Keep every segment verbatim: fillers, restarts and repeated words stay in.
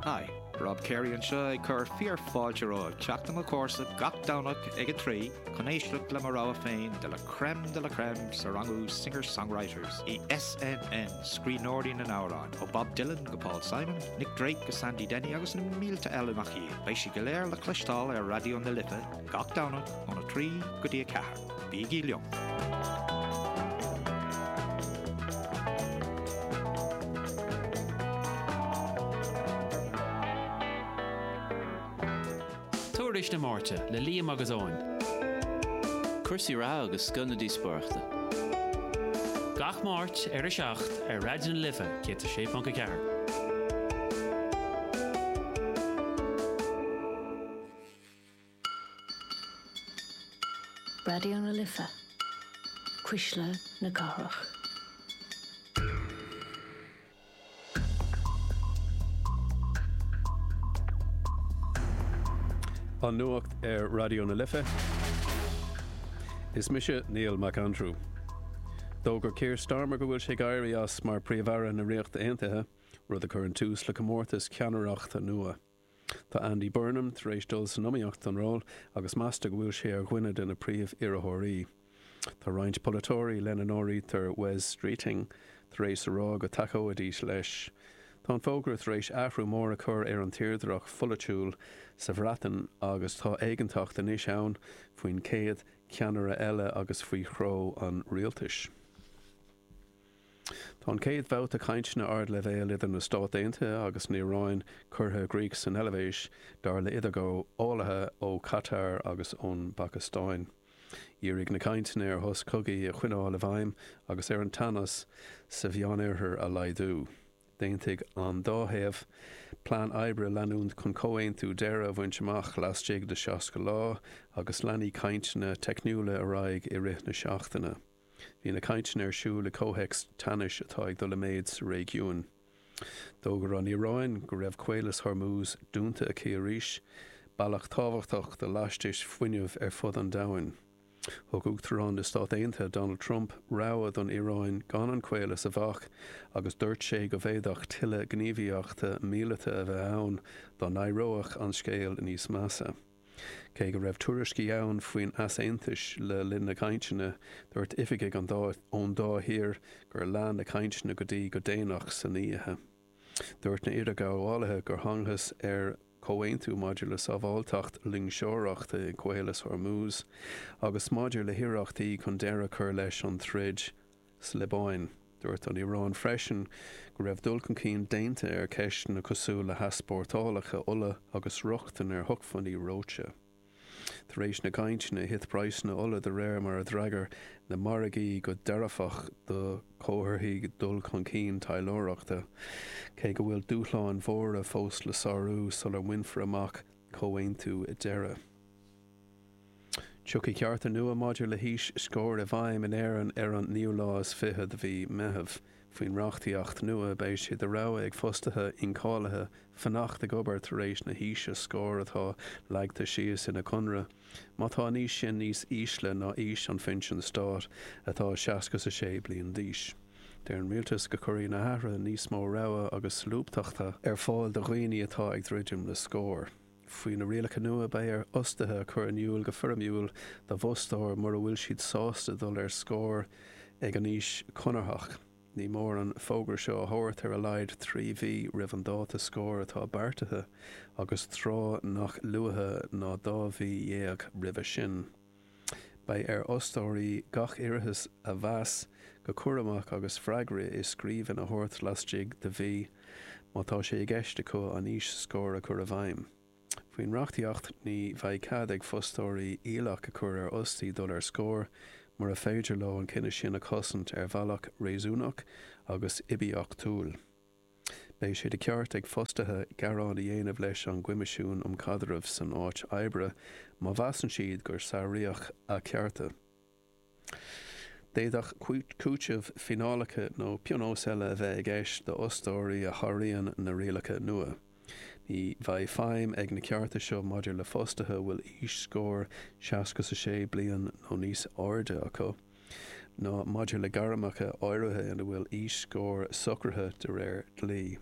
Hi, Rob Carey anseo ag cur fíorfháilte romhaibh teacht i mo chomhairse gach Domhnach ag a trí chun éisteacht le mo rogha féin de la crème de la crème sa rangú Singer-Songwriters i SNN Scríbhneoirí na nAmhrán ó Bob Dylan go Paul Simon, Nick Drake go Sandy Denny agus na mílte eile nach iad. Beidh sí go léir le cloisteáil ar Raidió na Life gach Domhnach óna trí go dtí a ceathair. Bígí liom. Tuairisc na Máirte le Liam agus Eoin. Cúrsaí reatha agus scoth na díospóireachta. Gach Máirt ar a seacht ar Raidió na Life céad a sé ponc a ceathair. Raidió na Life, Cuisle na Cathrach. An nuacht ar Raidió na Life. Is mise Neil McAndrew. D'fhógair Keir Starmer go bhfuil sé ag éirí as mar Príomh-Aire na Ríochta Aontaithe, rud a chuireann tús le comórtas ceannaireachta nua. Tá Andy Burnham tar éis dul san iomaíocht don ról agus meastar go bhfuil sé ar dhuine de na príomh-iarrthóirí. Tá roinnt polaiteoirí, lena n-áirítear Wes Streeting, tar éis a rá go dtacóidís leis. Tá an fógra tar éis athrú mór a chur ar an tírdhreach pholaitiúil sa Bhreatain agus tá éiginnteacht anois ann faoin chéad cheannaire eile agus faoi threo an rialtais. Tá an chéad bhabhta cainteanna ardleibhéil idir na Stáit Aontaithe agus an Iaráin curtha i gcrích san Eilvéis, dar le idirghabhálaithe ó Qatar agus ón bPacastáin. Dhírigh na cainteanna ar shos cogaidh a choinneáil i bhfeidhm agus ar an teannas sa Mheánoirthear a laghdú. D'aontaigh an dá thaobh plean oibre a leanúint chun comhaontú deiridh a bhaint amach laistigh de seasca lá agus leanfaidh cainteanna teicniúla ar aghaidh i rith na seachtaine. Bhí na cainteanna ar siúl i gcomhthéacs teannais atá ag dul i méid sa réigiún. D'fhógair an Iaráin go raibh Caolas Hormuz dúnta aici arís, bealach tábhachtach do lastais fuinnimh ar fud an domhain. Thug Uachtarán na Stát Aontaithe Donald Trump rabhadh don Iaráin gan an caolas a bhac agus dúirt sé go bhféadfadh tuilleadh gníomhaíochta míleata a bheith ann dá n-éireodh an scéal níos measa. Cé go raibh tuairiscí ann faoin easaontas le linn na gcainteanna, dúirt oifigigh ón dá thír gur lean na cainteanna go dtí go déanach san oíche. Dúirt na hidirghabhálaithe gur thángthas ar chomhaontú maidir le sábháilteacht loingseoireachta i gCaolas Hormuz agus maidir le hiarrachtaí chun deireadh a chur leis an troid sa Liobáin. Dúirt an Iaráin freisin go raibh dul chun cinn déanta ar cheisteanna cosúil le heaspórtálacha ola agus rochtain ar shócmhainní reoite. Tar éis na gcainteanna, thit praghsanna ola de réir mar a d'fhreagair na margaí go dearfach do chomharthaí dul chun cinn taidhleoireachta, cé go bhfuil dúshláin mhóra fós le sárú sula mbainfear amach comhaontú deiridh. Tiocfaidh cearta nua maidir le haois scoir i bhfeidhm in Éirinn ar an naoú lá is fiche de mhí Meitheamh. Faoin reachtaíocht nua, beidh sé de rogha ag fostaithe incháilithe fanacht ag obair tar éis na haoise scoir atá leagtha síos ina gconradh, má tá an aois sin níos ísle ná aois an phinsin stáit, atá seasca is a sé bliain d'aois. Deir an rialtas go gcuirfidh na hathruithe níos mó rogha agus solúbthachta ar fáil do dhaoine atá ag druidim le scor. Faoi na rialacha nua, beidh ar fhostaithe a chur in iúl go foirmiúil dá bhfostóir mura bhfuil siad sásta dul ar scor ag an aois chonarthach. Ní mór an fógra seo a thabhairt ar a laghad trí mhí roimh an dáta scoir atá beartaithe agus tráth nach luaithe ná dhá mhí dhéag roimhe sin. Beidh ar fhostóirí gach iarratas a mheas go cúramach agus freagra i scríbhinn a thabhairt laistigh de mhí má tá sé i gceist acu an aois scoir a chur i bhfeidhm. Faoin reachtaíocht, ní bheidh cead ag fostóirí iallach a chur ar fhostaí dul ar scor mura féidir leo an cinneadh sin a chosaint ar bhealach réasúnach agus oibiachtúil. Beidh sé de cheart ag fostaithe gearán a dhéanamh leis an gCoimisiún um Chaidreamh san Áit Oibre má mheasann siad gur sáraíodh a gcearta. D'fhéadfadh cúiteamh, fíneálacha nó pionóis eile a bheith i gceist d'fhostóirí a sháraíonn na rialacha nua. Ní bheidh feidhm ag na cearta seo maidir le fostaithe a bhfuil aois scoir seasca a sé bliain nó níos airde acu, ná maidir le gairmeacha áirithe ina bhfuil aois scoir socraithe de réir dlí.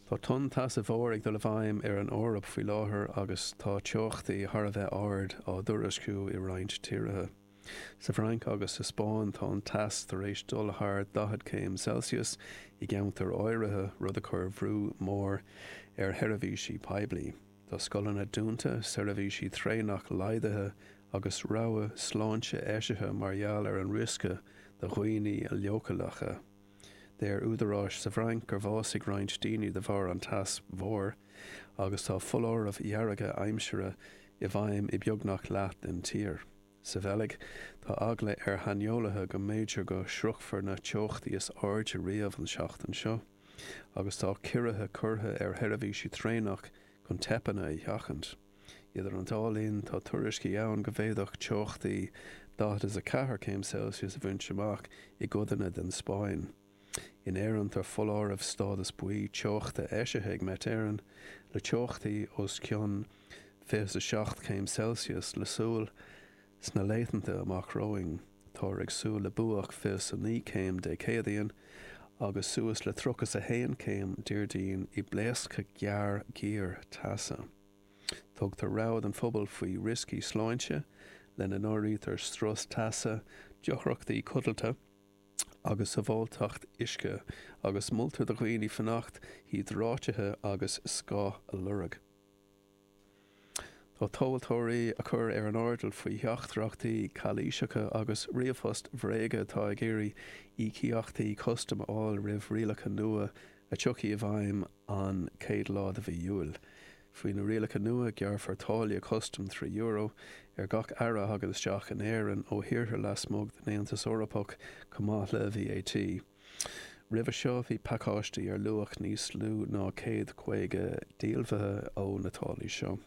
Tá tonn teasa mhór ag dul i bhfeidhm ar an Eoraip faoi láthair agus tá teochtaí thar a bheith ard á dtuairisciú i roinnt tíortha. Sa Fhrainc agus sa Spáinn tá an teas tar éis dul thar daichead céim Celsius i gceantair áirithe, rud a chuir brú mór ar sheirbhísí poiblí. Tá scoileanna dúnta, seirbhísí traenach laghdaithe agus rabhadh sláinte eisithe mar gheall ar an riosca do dhaoine leochaileacha. Deir údaráis sa Bhfrainc gur bhásaigh roinnt daoine de bharr an teas mhóir agus tá foláirimh dhearga aimsire i bhfeidhm i beagnach leath den tír. Sa Bheilg, tá eagla ar shaineolaithe go mb'fhéidir go sroichfear na teochtaí is airde riamh an tseachtain seo, agus tá ciorruithe curtha ar sheirbhísí traenach chun teipeanna a sheachaint. Idir an dá linn, tá tuairiscí ann go bhféadfadh teochtaí daichead is a ceathair céim Celsius a bhaint amach i gcodanna den Spáinn. In Éirinn, tá foláireamh stádas buí teochta eisithe ag Met Éireann, le teochtaí os cionn fiche a seacht céim Celsius le súil sna laethanta amach romhainn. Táthar ag súil le buaic fiche a naoi céim Dé Céadaoin agus suas le tríocha a haon céim Déardaoin i bpléascadh gearr géar teasa. Tugtar rabhadh don phobal faoi rioscaí sláinte, lena n-áirítear strus teasa, deacrachtaí codlata agus sábháilteacht uisce, agus moltar do dhaoine fanacht hiodráitithe agus scáth a lorg. Tá tomhaltóirí á gcur ar an airdeall faoi theachtaireachtaí calaoiseacha agus ríomhphost bhréige atá ag iarraidh íocaíochtaí custaim a fháil roimh rialacha nua a tiocfaidh i bhfeidhm an chéad lá de mhí Iúil. Faoi na rialacha nua, gearrfar táille custaim trí euro ar gach earra a thagann isteach in Éirinn ó thíortha lasmuigh den Aontas Eorpach chomh maith le V A T. Roimhe seo, bhí pacáistí ar luach níos lú ná céad caoga díolmhaithe ó na táillí seo.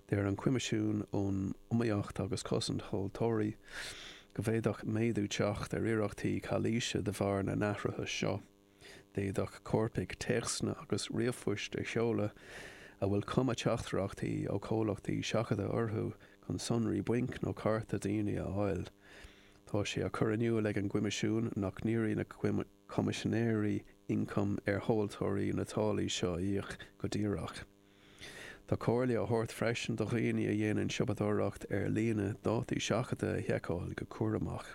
Deir an Coimisiún um Iomaíocht agus Cosaint Tomhaltóirí go bhféadfadh méadú teacht ar iarrachtaí calaoise de bharr na n-athruithe seo. D'fhéadfadh coirpigh téacsanna agus ríomhphoist a sheoladh a bhfuil cuma teachtaireachtaí ó chomhlachtaí seachadta orthu chun sonraí bainc nó cárta daoine a fháil. Tá sé á chur in iúl ag an gCoimisiún nach n-iarrfaidh na Coimisinéirí Ioncaim ar thomhaltóirí na táillí seo a íoc go díreach. Tá comhairle á thabhairt freisin do dhaoine a dhéanann siopadóireacht ar líne dátaí seachadta a sheiceáil go cúramach.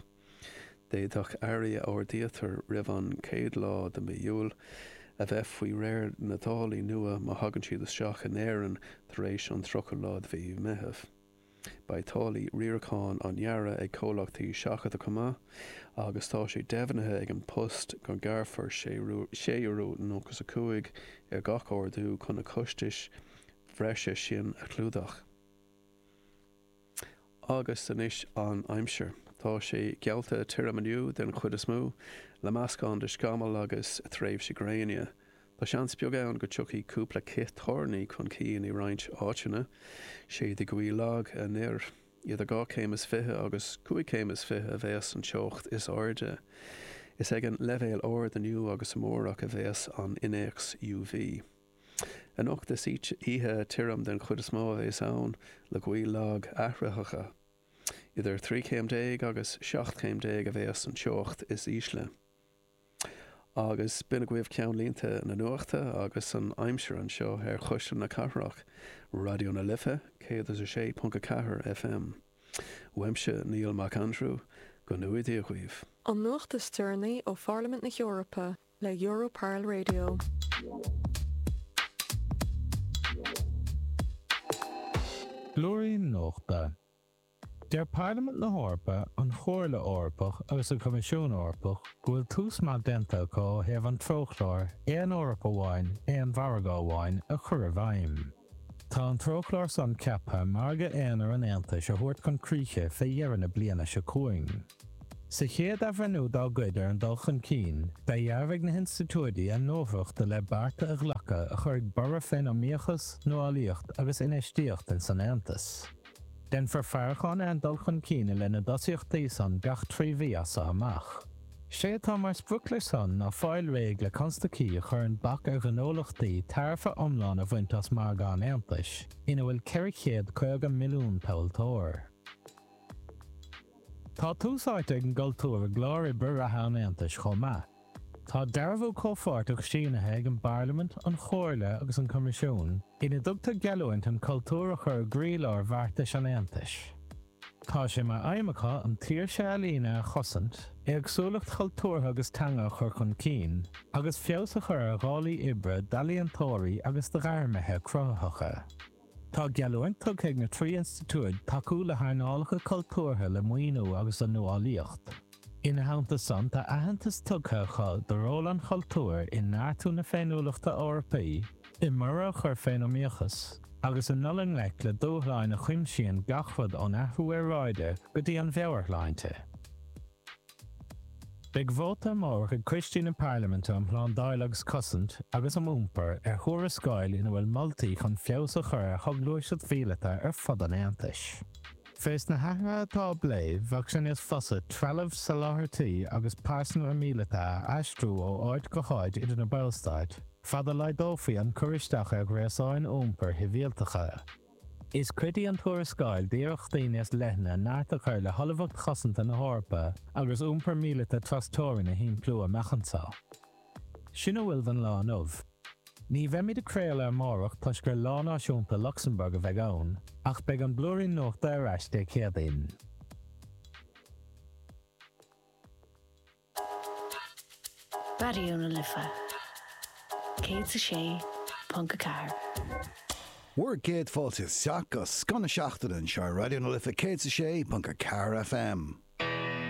D'fhéadfadh earraí a ordaítear roimh an chéad lá de mhí Iúil a bheith faoi réir na dtáillí nua má thagann siad isteach in Éirinn tar éis an tríocha lá de mhí Meitheamh. Beidh táillí riaracháin á ngearradh ag comhlachtaí seachadta chomh maith, agus tá sé deimhnithe ag An Post go ngearrfar sé euro nócha a cúig ar gach ordú chun na costais bhreise sin a chlúdach. Agus anois an aimsir. Tá sé geallta tirim inniu den chuid is mó, le meascán de scamaill agus tréimhsí gréine. Tá seans beag ann go dtiocfaidh cúpla cith toirní chun cinn i roinnt áiteanna, séidfidh gaoth lag anoir. Idir dhá chéim is fiche agus cúig chéim is fiche a bheas an teocht is airde. Is ag an leibhéal ard inniu agus amárach a bheas an innéacs U V. Anocht is oíche tirim den chuid is mó a bheas ann le gaoth lag athraitheach. Idir trí chéim déag agus seacht chéim déag a bheas an teocht is ísle. Agus b'in agaibh ceannlínte na nuachta agus an aimsir anseo ar Chuisle na Cathrach, Raidió na Life, céad is a sé ponc a ceathair F M. Uaimse Niall Mac Aindriú, go ngnóthaí Dia dhaoibh. An nuacht is deireanaí ó Pharlaimint na hEorpa le Europarl Radio. Blúirín Nuachta. Deir Parlaimint na hEorpa, an Chomhairle Eorpach agus an Coimisiún Eorpach go bhfuil tús maith déanta acu ó thaobh an treochlár Aon Eoraip Amháin, Aon Mhargadh Amháin a chur i bhfeidhm. Tá an treochlár san ceaptha margadh aonair an Aontais a thabhairt chun críche fé dheireadh na bliana seo chugainn. Sa chéad athbhreithniú dá gcuid ar an dul chun cinn, dhearbhaigh na hinstitiúidí a n-ullmhacht le bearta a ghlacadh a chuirfidh borradh fén iomaíochas, nuálaíocht agus infheistíocht ins an Aontas. Déanfar faireachán ar an dul chun cinn i leith na dtosaíochtaí san gach trí mhí as seo amach. Sé atá mar sprioc leis san ná fáil réidh le constaicí a chuireann bac ar ghnólachtaí tairbhe iomlán a bhaint as margadh an Aontais, ina bhfuil ceithre chéad caoga milliún tomhaltóir. Tá tús áite ag an gcultúr i gclár oibre reatha an Aontais chomh maith. Tá dearbhú comhpháirteach sínithe ag an bParlaimint, an Chomhairle agus an Coimisiún, ina dtugtar geallúint an cultúr a chur i gcroílár bheartais an Aontais. Tá sé mar aidhm acu an tsaoirse ealaíne a chosaint, éagsúlacht chultúrtha agus teanga a chur chun cinn, agus feabhas a chur ar dhálaí oibre d'ealaíontóirí agus do ghairmithe cruthaitheacha. Tá geallúint tugtha ag na trí institiúid tacú le hearnálacha cultúrtha le maoiniú agus le nuálaíocht. Ina theannta san tá aitheantas tugtha acu do ról an chultúir i neartú na féiniúlachta Eorpaí, i mborradh a chur fén iomaíochas, agus i ndul i ngleic le dúshláin a chuimsíonn gach rud ón athrú aeráide go dtí an mheabhairshláinte. Beidh vóta amárach ag coistí na Parlaiminte um Shlándáil agus Cosaint agus um Iompar ar thuarascáil ina bhfuil moltaí chun feabhas a chur ar shoghluaisteacht mhíleata ar fud an Aontais. Fés na hathruithe atá á bplé, bheadh sé níos fusa trealamh, soláthairtí agus pearsanra míleata a aistriú ó áit go háit idir na Ballstáit, fad a laghdófaí an cur isteach ar ghréasáin iompair shibhialtacha. Is cuid í an tuarascáil d'iarrachtaí níos leithne neart a chur le hullmhacht chosanta na hEorpa agus iompar míleata trasteorann a shimpliú amach anseo. Sin a bhfuil don lá inniu. Ní bheimid ag craoladh amárach toisc gur Lá Náisiúnta Lucsamburg a bheidh ann, ach beidh an Blúirín Nuachta ar ais Dé Céadaoin. Raidió na Life céad is a sé ponc a ceathair. Bhur gcéad fáilte isteach go scoth na seachtaine anseo ar Raidió na Life céad is a sé ponc a ceathair FM.